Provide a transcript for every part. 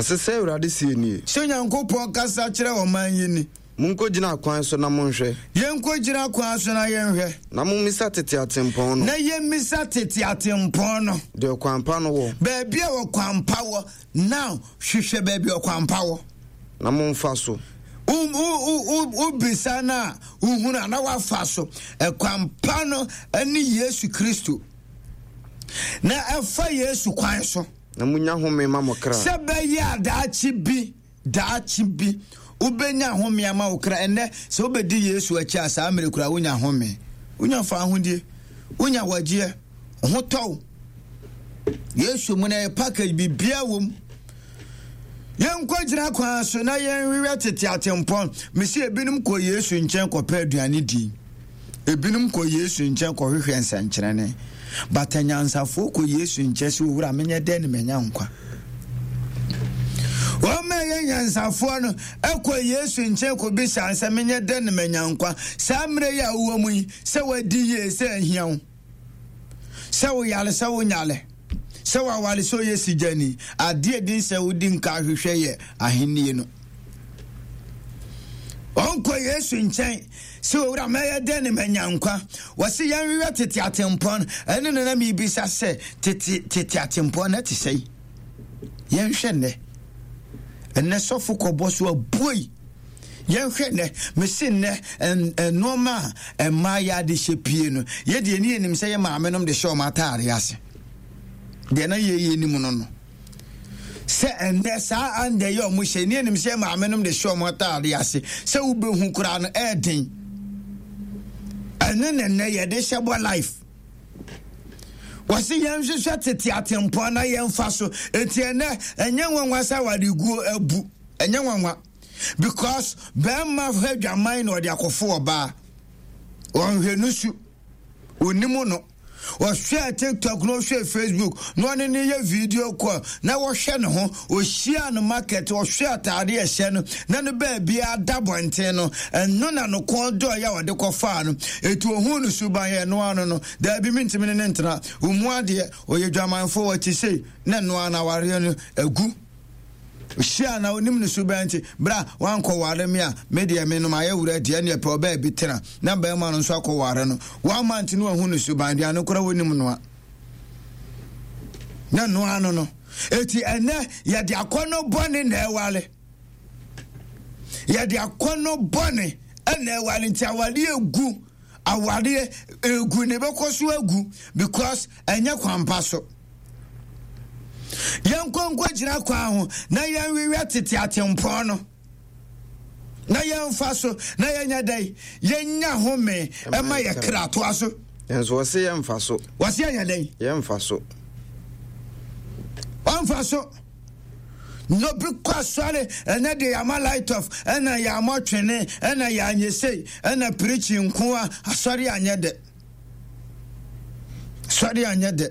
Ɔse sɛ Awurade seɛ nie. Sɛ Onyankopɔn kasa kyerɛ ɔman yi ni. Monkɔgyina akwan so na monhwɛ. Yɛnkɔgyina kwan so na yɛnhwɛ. Na mommisa tete atempɔn no. Na yɛmmisa tete atempɔn no. Deɛ ɔkwan pa no wɔ. Baabi a ɔkwan pa wɔ. Now hwehwɛ baabi a ɔkwan pa wɔ. Na momfa so. Wobisa no a wohunu a na wafa so. Ɛkwan pa no ne Yesu Kristo. Na ɛfa Yesu kwan so. Na munya home ma mo kra. Sɛ bɛyɛ a daakye bi, daakye bi, wobɛnya home ama wo kra. Ɛnnɛ, sɛ wobɛdi Yesu akyi a, saa mmerɛ kura wonya home. Wonya fahodie, wonya wagyeɛ, ho tɔ wo. Yesu mu no ɛyɛ package, biribiara wɔ mu. Yɛnkɔgyina kwan so na yɛnhwehwɛ tete atempɔn. Mesi ebinom kɔ Yesu nkyɛn kɔpɛ aduane di. Ebinom kɔ Yesu nkyɛn kɔhwehwɛ nsɛnkyerɛnne. But anyansafoɔ kɔ Yesu nkyɛn sɛ, Owura, menyɛ dɛn na manya nkwa? Wɔn a ɛyɛ nyansafoɔ no kɔ Yesu nkyɛn kɔbisa sɛ, menyɛ dɛn na manya nkwa? Saa mmerɛ yi a wowɔ mu yi, sɛ wadi yie, sɛ ahia wo, sɛ woyare, sɛ wonyare, sɛ waware, sɛ ɔyɛ sigyani, adeɛ din sɛ wodi nka ahwehwɛ yɛ ahennie no. Ɔnkɔ Yesu nkyɛn sɛ owura mɛyɛ dɛn ne manya nkwa. Wɔse yɛnhwehwɛ tete atempɔn ɛne no na mebisa sɛ tete tete atempɔn na ɛte sɛn. Yɛnhwɛ nnɛ. Ɛnnɛ sɔfo kɔbɔ so abuoi. Yɛnhwɛ nnɛ mese nnɛ nneɛma a mmaa yɛ ade hyɛ pie no yɛdeɛ ne yɛnim sɛ yɛ maame nom de hyɛ wɔn ataare ase. Deɛ na yɛyɛ nim no no. Sɛ ɛnnɛ saa andɛ yi a wɔn hyɛ ne anim sɛ maame nom de hyɛ wɔn ataade ase sɛ wobɛhu koraa no ɛɛden ɛne ne nnɛ yɛde hyɛ bɔ life wɔsi yɛn hwehwɛ tete atempɔn na yɛn fa so eti ɛnɛ ɛnyɛ nwanwa sɛ awareguo abu ɛnyɛ nwanwa because bɛrima hwɛ dwaman na ɔde akɔfo ɔbaa wɔnhwɛ nusu onim no. Ɔhwɛɛ TikTok na ɔhwɛɛ Facebook na ɔne no yɛ video call na wɔhwɛ ne ho. Ɔhyiaa no market, ɔhwɛ ataade a ɛhyɛ no na no baabiara da bɔnten no. Ɛno na no kɔn dɔeɛ a ɔde kɔfaa no. Eti ohuu no suban yɛ ɛno ano no. Daabi mentumi ne no ntena. Ɔmu adeɛ, ɔyɛ dwamanfoɔ, ɔte sei na ɛno ara no awareɛ no agu. Hyia na onim ne suban nti, bra wankɔware me a, me deɛ me no mayɛ wura deɛ ɛneɛ pɛ ɔbaa bi tena na barima no nso akɔware no. One month no wahu ne suban, aduane koraa wɔnim noa. Na noa no no. Eti ɛnɛ yɛde akɔnnɔ bɔne na ɛware. Yɛde akɔnnɔ bɔne ɛna ɛware nti awareɛ egu awareɛ egu na ɛbɛkɔ so agu because ɛnyɛ kwampa so. Yɛnkɔ nkɔgyina kwan ho na yɛnwewɛ tete atempɔn no na yɛmfa so na yɛnyɛ dɛn yɛnya home ɛma yɛ kra toa so. Nanso wɔse yɛmfa so. Wɔse yɛnyɛ dɛn? Yɛmfa so. Wɔmfa so. Na obi kɔ asɔre ɛnɛ de yɛama light off ɛna yɛama twene ɛna yɛanyɛ sei ɛna preaching nko a asɔre anyɛ dɛ. Sɔre anyɛ dɛ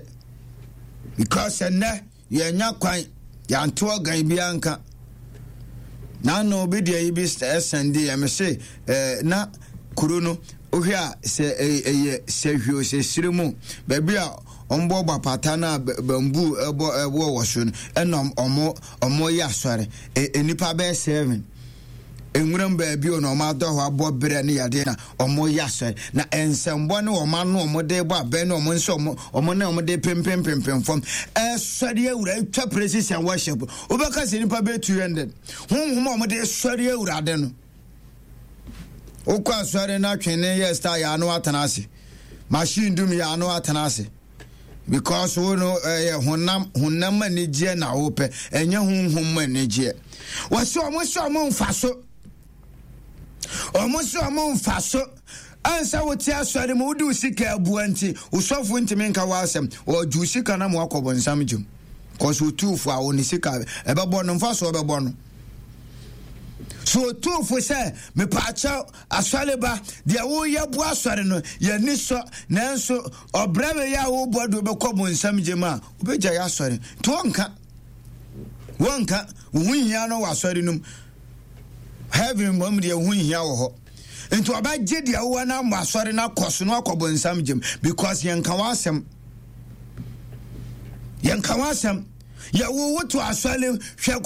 because ɛnɛ yɛnya kwan yɛanto ɔgan biara nka na ano obi deɛ yi bi ɛsɛn de yɛ me se ɛɛ na kuro no wohwɛ a sɛ ɛyɛ sɛ hwio sɛ sire mu baabi a wɔn bɔ apata no a bamboo ɛbɔ ɛwɔ wɔ so no ɛna wɔn wɔn yɛ asɔre nnipa bɛyɛ seven. Nwuram baabi o na wɔn adɔ hɔ abɔ berɛ ne yadeɛ na wɔn yɛ asɔre na nsɛmbɔ ne wɔn ano wɔn de bɔ abɛn ne wɔn nsa wɔn wɔn ne wɔn de pempempempem fam ɛsɔre awura atwa praises and worship wobɛka sɛ nipa bɛ 200 honhom a wɔn de sɔre awurade no wokɔ asɔre no atwene yɛ star yɛ ano atena ase machine dum yɛ ano atena ase. Because wo no ɛyɛ honam honam anigyeɛ na wopɛ ɛnyɛ honhom mu anigyeɛ. Wɔsi wɔn sɛ wɔn nfa so wɔn sɛ wɔn nfa so ansa wote asɔre mu wode wo sika abua nti wosɔfo ntumi nka w'asɛm ɔgye wo sika na mo akɔ bɔnsam gyem kɔso otuufo a wɔne sika ɛbɛbɔ no mfa so ɔbɛbɔ no so otuufo sɛ mepaakyɛw Asɔreba, deɛ woreyɛ boa asɔre no, yɛn ani sɔ, nanso ɔbrɛ wei a worebɔ de wobɛkɔ bonsam gye mu a, wobɛgyae asɔre. Nti wɔnka. Wɔnka. Wo ho nhia no wɔ asɔre no mu. Heaven mmom deɛ wo ho nhia wɔ hɔ. Nti ɔbɛgye deɛ wowɔ no ama asɔre no akɔ so na wakɔ bonsam gye mu because yɛnka w'asɛm. Yɛnka w'asɛm. Yɛwo wo to asɔre hwɛ.